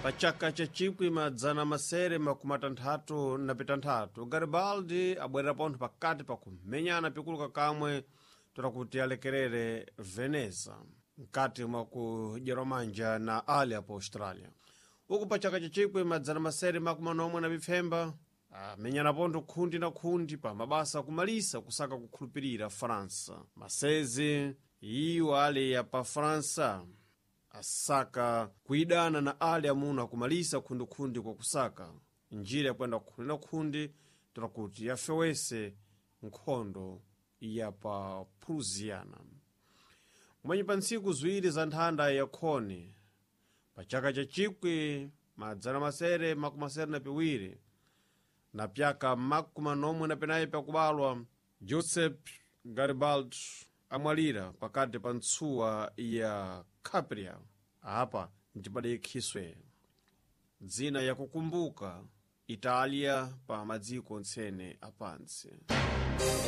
Pa chaka cha 1666 Garibaldi abwerera pontho pakati pa kumenyana pikuluka kamwe tola kuti alekerere Veneza mkati mwa kudyerwa manja na ali apo Australia. Uku pa chaka cha 1697 amenyana pontho khundi na khundi pa mabasa akumalisa kusaka kukhulupirira Faransa. Masezi iwo ali ya pa Faransa asaka kuidana na ali amuna akumalisa khundikhundi kwa kusaka njira yakwenda khundi na khundi tola kuti yafewese nkhondo ya pa Prusiana. Mwenye pa ntsiku ziwiri za nthanda ya khoni pa chaka cha 1672 na pyaka 44 pakubalwa, Giuseppe Garibaldi amwalira pakati pa ntsuwa ya Capria. Apa ntipadaikhiswe dzina yakukumbuka Italia pa madziko ntsene apantsi.